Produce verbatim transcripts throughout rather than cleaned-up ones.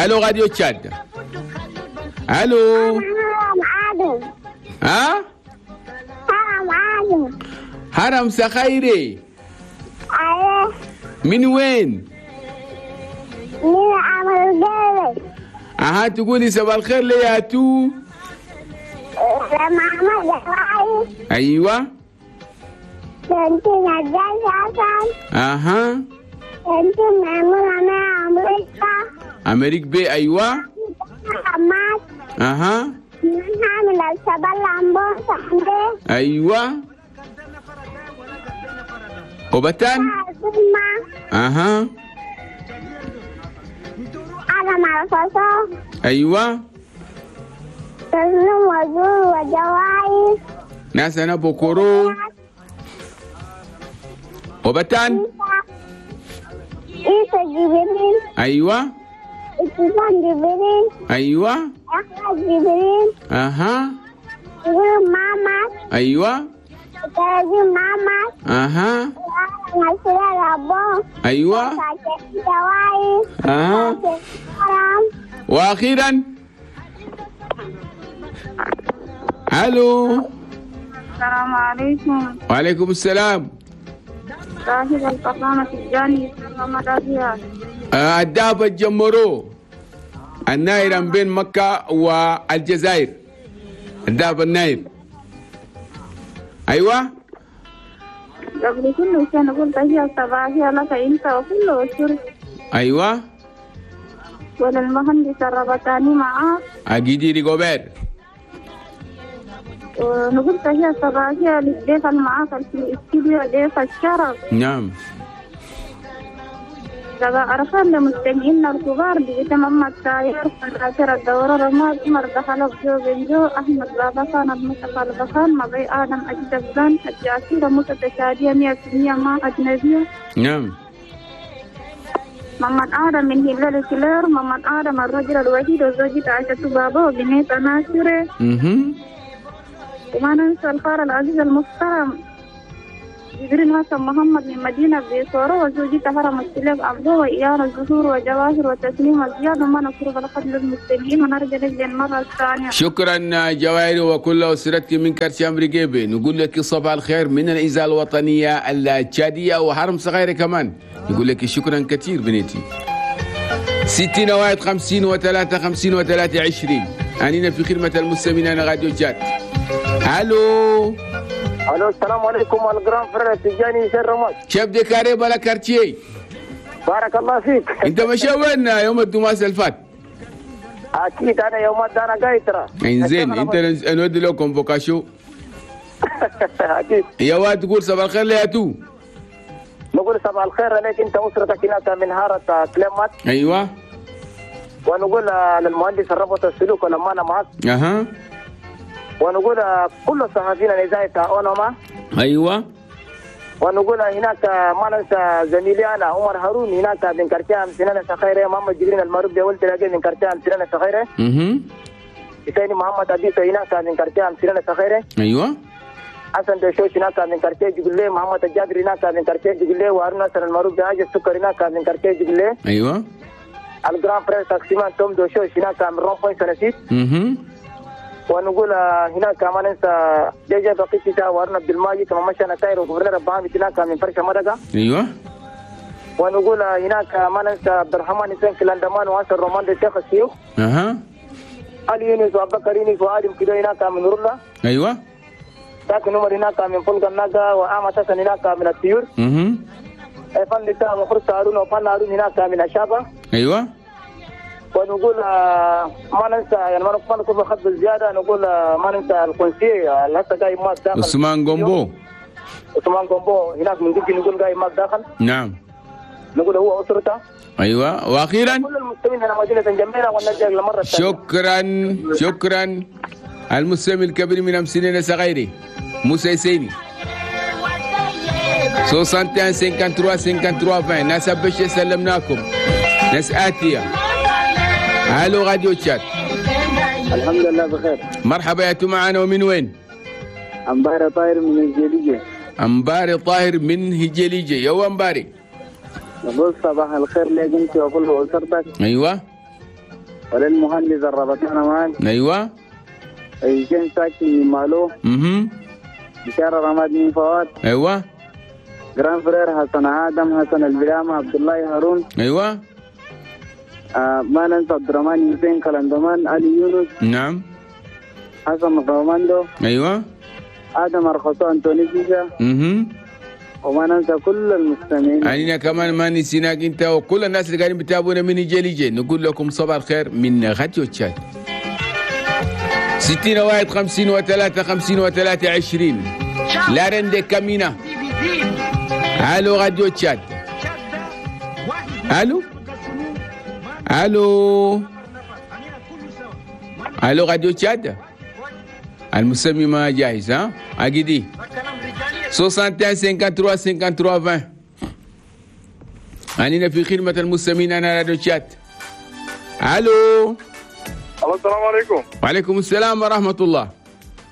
الو راديو تشاد. الو. ها؟ هرم عادم. هرم سخيري. ايوه. من وين؟ من عمل. اها تقولي صباح الخير لي يا تو. لما ايوه. كنت نجاة حسن. اها. كنت معمولة مع أمريكا. أمريكا بي ايوه. محمد. اها. من الشباب لامبون صاحبي. ايوه. وبتان. اها. أنا مع الفصل. ايوه. تسلم وزور وجوائز. ناس انا بكورو. وبتان. عيسى جبريل. ايوه. ابتسام جبريل. ايوه. احمد جبريل. اها. يقول ماما. ايوه. تلاتين ماما. اها. ايوه. اها. واخيرا الو. السلام عليكم. وعليكم السلام. صاحب الفخامة الجاني الدهب الجمرو الناير بين مكة والجزائر، الدهب الناير. أيوة. قبل كل شيء نقول تحية صباحية لك أنت وكل أسرتك. أيوة. وللمهندس الربطاني معاك. أجيدي ريغوبير. ونقول تحية صباحية للضيف المعاك في الاستوديو، ضيف الشرف. نعم. عرفان لمستمعينا الكبار باسم محمد ساير فناتر الدورة رماد عمر دخل جو بنجو أحمد بابخان المصطفى البخان مضي آدم أجدبان الجاسيرة متتشادية مية في المية مع أجنبية. نعم. محمد آدم من هلال كلير، محمد آدم الرجل الوحيد وزوجته عائشة بابا وبنيت ناصرة. وما ننسى الخال العزيز المحترم جبريل حسن محمد من مدينة بيصورة وزوجته هرم السلاف عبده وإيان الزهور وجواهر وتسليم وزياد وما نصر الخدم للمسلمين ونرجع للمرة الثانية. شكرا جواهر وكل أسرتك من كرشام رقيبي. نقول لك صباح الخير من الإذاعة الوطنية التشادية وحرم صغيرة كمان. نقول لك شكرا كثير بنيتي. ستين واحد خمسين وثلاثة خمسين وثلاثة عشرين. أنينا في خدمة المستمعين أنا راديو تشاد. الو. الو السلام عليكم ال grand frère تجاني سير رماد. chef de carré بلا quartier. بارك الله فيك. انت مشى وين يوم الدماس الفات؟ اكيد انا يوم انا قايد ترى. انزين انت نودي له convocation. اكيد. يا واد تقول صباح الخير ليا تو. نقول صباح الخير عليك انت واسرتك هناك من هارة كلمات. ايوه. ونقول للمهندس الربط السلوك ولما انا معك. اها. ونقول كل الصحفيين الاذاعه اونما. ايوه. ونقول هناك ما ننسى زميلي انا عمر هارون هناك من كرتام سنانه سخيره، محمد جبرين المعروف بولد تلاقي من كرتام سنانه سخيره. اها. ثاني محمد ابيسو هناك من كرتام سنانه سخيره. ايوه. حسن دوشوش هناك من كرتي جبلي، محمد الجابر هناك من كرتي جبلي، وهارون ناصر المعروف بهاج السكر هناك من كرتي جبلي. ايوه. ال grand frère taximan توم دوشوش هناك من rond-point سنسيت. اها. ونقول هناك ما ننسى جيجا بقيتي وارنا عبد الماجد كما مشى نتاير وغفرنا ربعام هناك من فرشه مدقه. ايوه. ونقول هناك ما ننسى عبد الرحمن حسين كلاندمان واسر رومان الشيخ الشيوخ. اها. علي يونس وابو بكر يونس وادم كده هناك من رولا. ايوه. ساكن عمر هناك من فلق الناقه وآمة حسن هناك من الطيور. اها. فن لتا وخرس هارون وفن هارون هناك من الشابه. ايوه. ونقول ما ننسى يعني ما نكون بخط الزياده، نقول ما ننسى القنصي اللي هسه جاي ماك داخل عثمان جومبو. عثمان جومبو هناك من جوجي نقول جاي ماك داخل. نعم. نقول هو اسرته. ايوه. واخيرا كل المستمعين هنا مدينه جميله ونرجع للمره الثانيه. شكرا شكرا المستمع الكبير من امسنين صغيري موسى يسيني. واحد وستين ثلاثة وخمسين ثلاثة وعشرين. ناس بشي سلمناكم. ناس آتية. الو راديو تشاد. الحمد لله بخير. مرحبا يا تو معانا ومن وين؟ أمباري طاهر من هجليجة. أمباري طاهر من هجليجة. يا أمباري. نقول صباح الخير لك انت وكل اسرتك. ايوه. وللمهندس الربطانة مان. ايوه. هشام ساكن من مالو. اها. بشارة رماد من فواد. ايوه. grand frère حسن آدم حسن البلامة عبد الله هارون. ايوه. آه ما ننسى عبد الرحمن حسين كلندمان علي يونس. نعم. حسن روماندو. ايوه. آدم أرخصو أنتوني سيسا. اها. وما ننسى كل المستمعين. علينا كمان ما نسيناك انت وكل الناس اللي قاعدين بتابعونا من جيلي. نقول لكم صباح الخير من راديو تشاد. ستين واحد خمسين وثلاثة خمسين وثلاثة عشرين. La reine de Kamina. الو راديو تشاد. الو الو الو راديو تشاد. المسمي ما جاهز ها؟ اجدي واحد وستين ثلاثة وستين ثلاثة وستين عشرين. أننا في خدمة المستمعين. أنا راديو تشاد. ألو. السلام عليكم. وعليكم السلام ورحمة الله.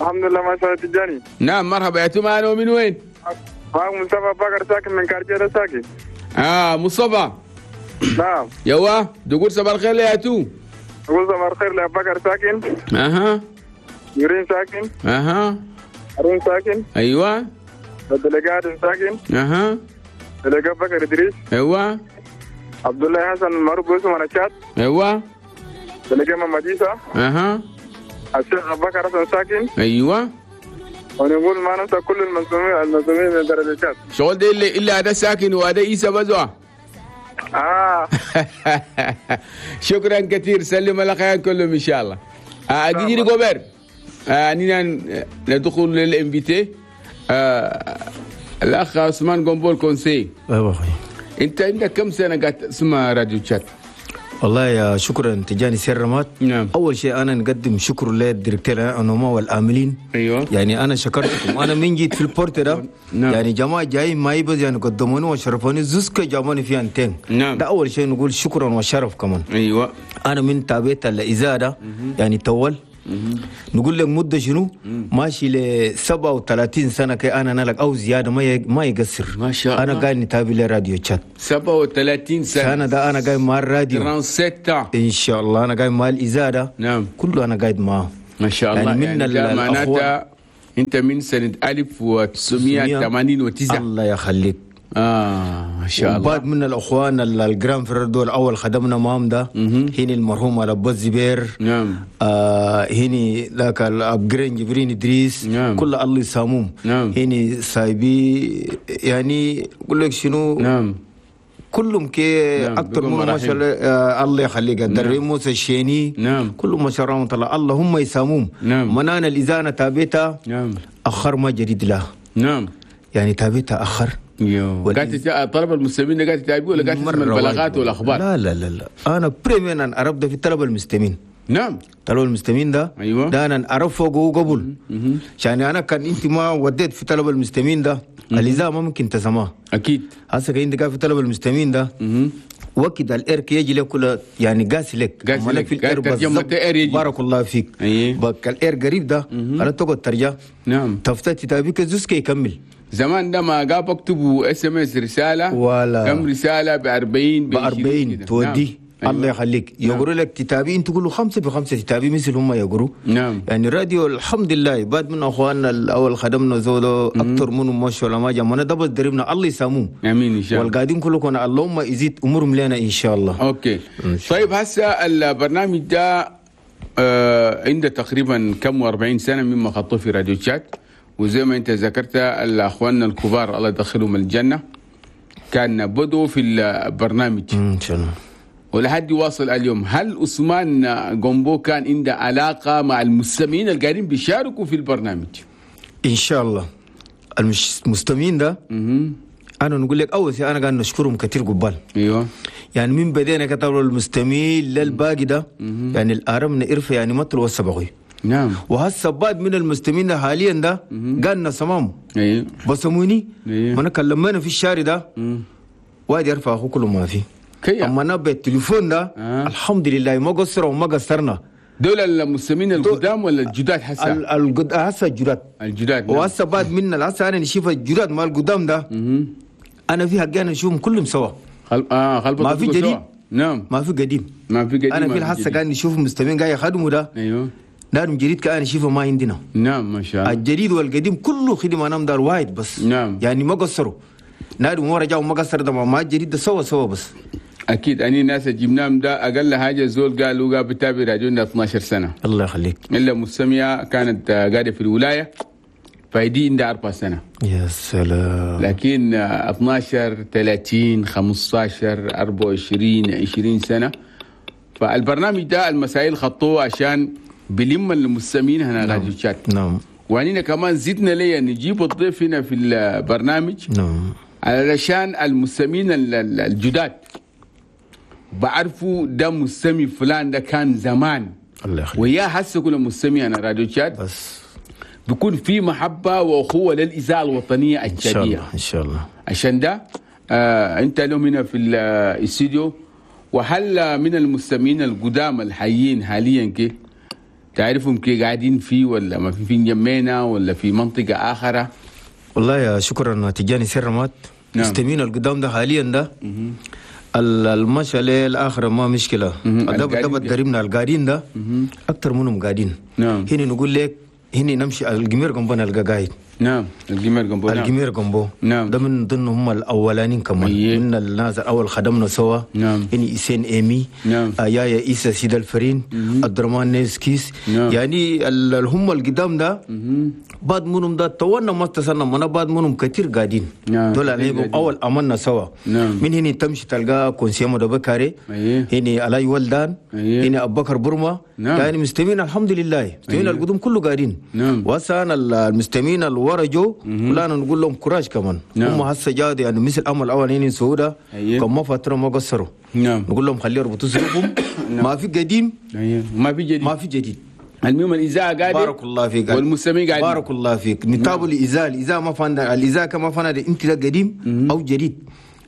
الحمد لله ما شاء الله تجاني. نعم مرحبا يا توما. أنا من وين؟ معك مصطفى بكر ساكن من كارتير ساكن. آه مصطفى. نعم. يوا تقول صباح الخير يا تو. تقول صباح الخير يا بكر ساكن. أها. يورين ساكن. أها. هارون ساكن. أيوة. بدلقات ساكن. أها. دلقات بكر إدريس. أيوة. عبد الله حسن المعروف باسم رشاد. أيوة. دلقات محمد عيسى. أها. الشيخ أبو بكر حسن ساكن. أيوة. ونقول ما ننسى كل المنظومين المنظومين من درجات. شغل ده اللي إلا هذا ساكن وهذا عيسى بزوا. آه. شكرا كثير. سلم على خير كلهم إن شاء الله. أجي جوبر. أننا ندخل لل invité. آه الأخ عثمان قنبول كونسي. أيوة أخوي. أنت عندك كم سنة قاعد تسمع راديو تشاد؟ والله يا شكرا تجاني سير رمات. نعم. أول شيء أنا نقدم شكر لل directeur أنوما والعاملين. أيوة. يعني أنا شكرتكم. أنا من جيت في ال porte ده. نعم. يعني جماعة جايين ما يبز يعني قدموني وشرفوني زوسكا جابوني في antenne. نعم. ده أول شيء نقول شكرا وشرف كمان. أيوة. أنا من تابعت الإزادة يعني طول. نقول لك مدة شنو؟ ماشي ل سبعة وثلاثين سنة كي أنا نلك أو زيادة ما ما يقصر. ما شاء الله. أنا قاعد نتابع لراديو تشاد. سبعة وثلاثين سنة. سنة ده أنا قاعد مع الراديو. ثلاثة وثلاثين. إن شاء الله أنا قاعد مع الإزادة. نعم. كله أنا قاعد معه. ما شاء الله. يعني من يعني معناتها أنت من سنة ألف وتسعمية وثمانين وتسعة. الله يخليك. آه ما شاء الله. وبعد من الأخوان ال grands frères دول أول خدمنا معهم ده. هني المرحوم على أبو الزبير. نعم. آه هني ذاك الأبجرين جبرين إدريس. نعم. كل الله يساموم. نعم. هني سايبي يعني أقول لك شنو. نعم. كلهم كي نعم. أكثر من ما شاء الله. آه الله يخليك. الدري موسى الشيني. نعم. كلهم ما شاء الله الله اللهم يساموم. نعم. منانا الإزانة تابيتا. نعم. أخر ما جديد له. نعم. يعني تابيتا أخر. يو. قاعد طلب المستمعين قاعد تتابعوا ولا قاعد تسمع البلاغات والاخبار؟ لا لا لا لا انا premièrement انا عرفت في طلب المستمعين. نعم. طلب المستمعين ده. ايوه. ده انا اعرف فوقه قبل. عشان انا كان انت ما وديت في طلب المستمعين ده الاذاعة ما ممكن تسمعها. اكيد. هسه انت قاعد في طلب المستمعين ده وقت ال air يجي لك كله يعني قاسي لك. قاسي لك في ال air بالضبط. بارك الله فيك. أيه. بك ال air قريب ده انا تقعد ترجع. نعم. تفتت تابيك زوسك يكمل. زمان ده ما قاب اكتبوا SMS رسالة ولا كم رسالة ب أربعين ب أربعين تودي. نعم. الله يخليك. نعم. يقولوا لك تتابعين تقولوا خمسة بخمسة تتابعي مثل هم يقولوا. نعم. يعني الراديو الحمد لله بعد من اخواننا الاول خدمنا زولو اكثر منهم ما شاء الله ما جمعنا ده بس دربنا الله يساموم. امين ان شاء الله. والقاعدين كلكم اللهم يزيد امورهم لنا ان شاء الله. okay. طيب هسه البرنامج ده آه عنده تقريبا كم وأربعين سنة مما خطوة في راديو تشاد، وزي ما انت ذكرت الاخوان الكبار الله يدخلهم الجنة كان بدوا في البرنامج ان شاء الله ولحد يواصل اليوم. هل عثمان قنبو كان عنده علاقة مع المستمعين اللي قاعدين بيشاركوا في البرنامج؟ ان شاء الله المستمعين ده مم. انا نقول لك اول شيء انا قاعد نشكرهم كثير قبال. ايوه. يعني من بدينا كتبوا المستمعين للباقي ده يعني الارم نعرف يعني ما تلو السبقي. نعم. وهسه بعد من المستمعين حاليا ده قالنا سمام. ايوه. بسموني. أيوه. ما انا كلمنا في الشارع ده واحد يرفع اخوه كله ما في. كيا. اما انا بالتليفون ده آه. الحمد لله ما قصروا وما قصرنا. دول المستمعين القدام ولا الجداد هسه؟ القد هسه الجداد. الجداد. نعم. وهسه بعد منا هسه انا نشوف الجداد مال القدام ده. مم. انا في حقي انا نشوفهم كلهم سوا. خل... اه خلبط ما في جديد. نعم ما في قديم ما في قديم انا ما في الحصة جديد. قاعد نشوف مستمعين قاعد يخدموا ده ايوه دارهم جديد كأنا شوفه ما عندنا نعم ما شاء الله الجديد والقديم كله خدمة نام دار واحد بس نعم. يعني ما قصروا نادم ورا جاوا ما قصر ده ما الجديد ده سوا سوا بس اكيد اني ناس جبناهم ده اقل حاجة زول قالوا قال بتابع راديونا اثنا عشر سنة. الله يخليك. الا مستمعه كانت آه، قاعدة في الولاية، فايدي عندها اربع سنه. يا سلام. لكن آه، اثنا عشر، ثلاثين، خمسة عشر، أربعة وعشرين، عشرين سنه. فالبرنامج ده المسائل خطوة عشان بلم المستمعين هنا راديو تشاد. نعم وعنينا كمان زدنا ليه نجيب الضيف هنا في البرنامج نعم علشان المستمعين ال- ال- الجداد بعرفوا ده مستمع فلان ده كان زمان الله يخليك. ويا هسه كل مستمع انا راديو تشاد بس بيكون في محبة واخوه للاذاعة الوطنية ان شاء التشاديه. الله، ان شاء الله. عشان ده آه انت اليوم هنا في الاستديو. وهل من المستمعين القدامى الحيين حاليا كي تعرفهم كي قاعدين فيه ولا ما في في جمينة ولا في منطقة آخرى؟ والله يا شكرا تجاني سرمات. نعم. مستمعين القدام ده حاليا ده ال- المشى الاخر ما مشكله. مهم. ده القاعدين ده دربنا القاعدين ده اكثر منهم قاعدين. نعم. هنا نقول لك هنا نمشي الجمير جنبنا نلقى قاعد. نعم، الجمير جنبه، نعم. الجمير جنبه. نعم. ده من ضمن هم الاولانيين كمان. أيه. من الناس الاول خدمنا سوا. نعم. هني إسين ايمي. نعم. آه يايا عيسى سيد الفرين، عبد الرحمن نيسكيس. نعم. يعني ال- ال- هم القدام ده بعد منهم ده تونا ما اتصلنا منا بعد منهم كثير قاعدين. نعم، دول كتير عليهم قاعدين. اول امنا سوا. نعم. من هنا تمشي تلقى conseiller مدبا كاري. أيه. هنا علاي ولدان. أيه. هنا ابو بكر برما. نعم. يعني مستمعين الحمد لله مستمعين أيه. القدوم كله قاعدين. نعم. وهسه المستمعين الورا جو كلنا نقول لهم courage كمان. نعم. هم هسه جاد يعني مثل امل الاولانيين سعودة. أيه. كم ما فترة ما قصروا. نعم نقول لهم خليه يربطوا سلوكهم، ما في قديم. أيه. ما في جديد. ما في جديد. المهم الإذاعة قاعدة بارك الله فيك. والمستمعين قاعدين. بارك الله فيك. نتابع الإزاء، الإزاء ما فانا الإزاء كما فانا ده انت ده قديم او جديد،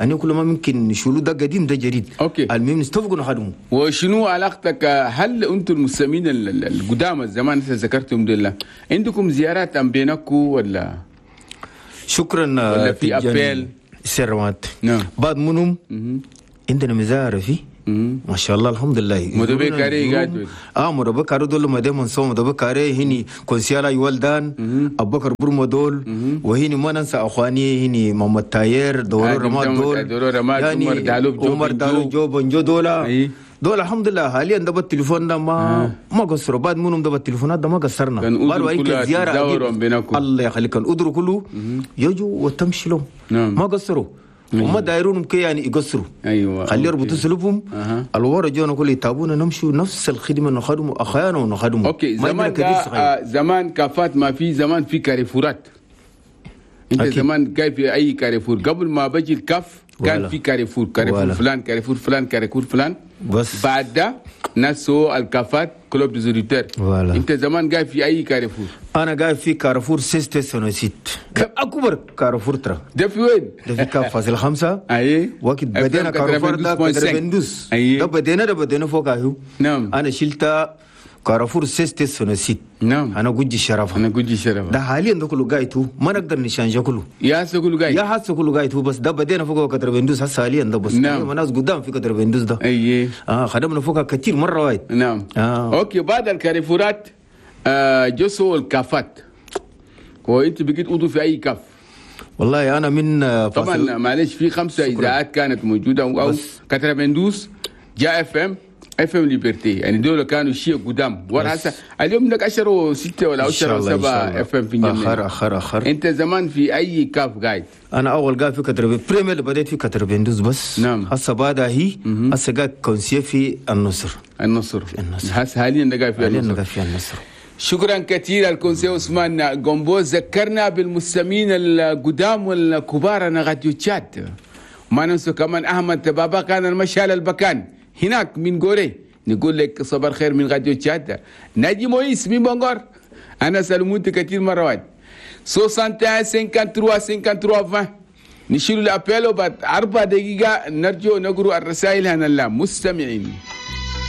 أنا كل ما ممكن نشيلو ده قديم ده جديد. okay. المهم نستفقوا نخدمه. وشنو علاقتك؟ هل انتم المستمعين ال- ال- القدامى الزمان انت ذكرتهم دول عندكم زيارات ام بينكم ولا شكرا. ولا في تجاني appel؟ سرمات. نعم. بعد منهم عندنا مزارة في ما شاء الله الحمد لله. مدبي كاري قاعد. اه مدبي كاري دول ما دايما سو مدبي كاري هني conseiller لا يولدان، ابو بكر برمو دول، وهني ما ننسى اخواني هني محمد تاير دورو آه، رماد محمد دول. دورو رماد، عمر دالوب جو عمر بنجو. دالوب جو بنجو دولا. أي. دول الحمد لله حاليا ده بالتليفون ده ما ما قصروا، بعد منهم ده بالتليفونات ده ما قصرنا. كان بعد أدروا وهيك كلها زيارة تزاوروا أجيب. بينكم. الله يخليك، كان أدروا كله يجوا وتمشي لهم. نعم. ما قصروا وما دايرونهم كي يعني يقصروا. ايوه خلي okay. يربطوا سلوبهم. أها. الورا جونا كل يتابونا نمشوا نفس الخدمة نخدموا اخيانا ونخدموا. okay. ما زمان عندنا كبير ده صغير. آه زمان كافات ما في، زمان في كاريفورات انت أكيد. زمان كان في اي كاريفور قبل ما بجي الكاف كان voilà. في كاريفور، كاريفور voilà. فلان، كاريفور فلان، كاريفور فلان. بس. بعد ده ناس سو الكافات club des auditeurs. voilà. انت زمان قاعد في اي كاريفور؟ انا قاعد في كارفور سيستي سونوسيت، اكبر كارفور ترى. ده في وين؟ ده في كاف فاصل خمسة. اي. وقت بدينا كارفور ده كتربندوس. اي. ده بدينا ده بدينا فوق اهو. نعم. انا شلت كارفور سيستي سونوسيت. نعم. انا قجي الشرف. انا قجي شرف. ده حاليا ده كله قايتو ما نقدر نشانجا كله. يا كله قاعد. يا حاسه كله قايتو، بس ده بدينا فوق كتربندوس هسه حاليا ده بس. نعم. نعم. ناس قدام في كتربندوس ده. اي. اه خدمنا فوقها كثير مرة واحد. نعم. آه. okay، بعد الكاريفورات آه جسوا الكافات، وانت بقيت عضو في اي كاف؟ والله انا من آه، فاصل طبعا معلش في خمسة اذاعات كانت موجوده، او بس. كتربندوس جاء اف ام اف ام ليبرتي، يعني دول كانوا شيء قدام ورا. هسه اليوم لك عشرة وستة ولا إن شاء عشرة الله، إن شاء وسبعة الله. FM في الجنة. اخر اخر اخر. انت زمان في اي كاف قاعد؟ انا اول قاعد في كتربين premier اللي بديت في كتربندوس بس. نعم. هسه بعدها هي هسه قاعد conseiller في النصر. النصر. النصر. هسه حاليا ده قاعد في حاليا النصر. قاعد في النصر. شكرا كثير ال conseiller عثمان جومبو، ذكرنا بالمستمعين القدام والكبار انا راديو تشاد. ما ننسى كمان احمد بابا كان المشال البكان هناك من غوري، نقول لك صباح الخير من راديو تشاد. ناجي مويس من بونغور، انا سلمت كثير مرات. واحد وستين ثلاثة وخمسين ثلاثة وخمسين عشرين نشيل ال appel وبعد أربع دقيقة نرجو نقرأ الرسائل هنا المستمعين.